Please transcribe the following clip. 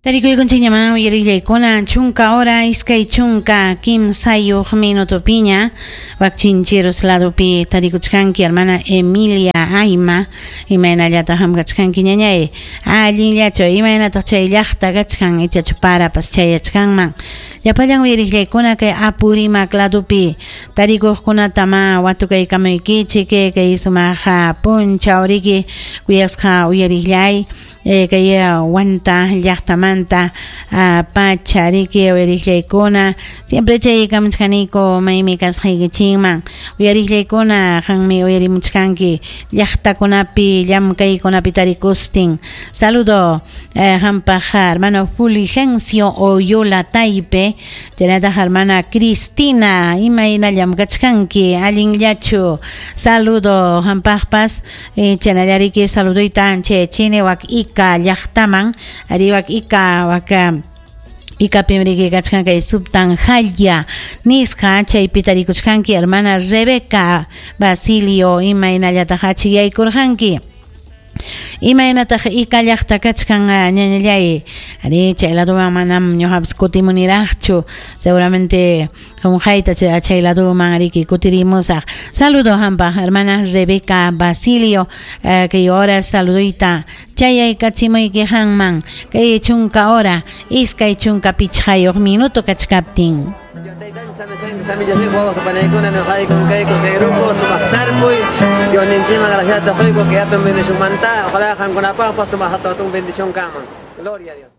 Tarikuykunchikñamá uyariqllaykuna chunka hora 23 minutopiña wak Chincheros ladopi tarikuchkanki hermana Emilia Ayma, imaynallataq hamkachkanki ñañay, allinllachu imaynataq chay llaqta kachkan ichachu parapas chayachkanman. Llapallan uyariqllaykuna kay Apurímac ladopi tarikuqkunatama watukaykamuykichik kay sumaq punchaw riki kuyasqa uyariqllay. Kay Huanta llaqtamanta pacha riki uyariqllaykuna siempre chaykamuchkaniku maymi kasqaykichikman uyariqllaykuna qanmi uyarimuchkanki llaqtakunapi llamkaykunapi tarikustin. Saludo qampaq hermano Fulgencio Oyola Taipe, chaynataq hermana Cristina, imayna llamkachkanki allinllachu. Saludo qampaqpas chaynallariki saluduyta chayachini wak Ica llaqtaman, ari wak Ica wak Icapim riki kachkan kay Subtanjalla nisqa chaypi tarikuchkanki hermana Rebeca Basilio, imaynallataq achiyaykurqanki. Imaynataq Ica llaqta kachkan ñañallay, ari chay laduman manam ñuqapas kutimuniraqchu, seguramente qunqayta chay laduman riki kutirimusaq. Saludo hampaq hermana Rebeca Basilio, kay hora saluduyta chayaykachimuyki qanman kay chunka hora 25 minuto kachkaptin. Gloria a Dios.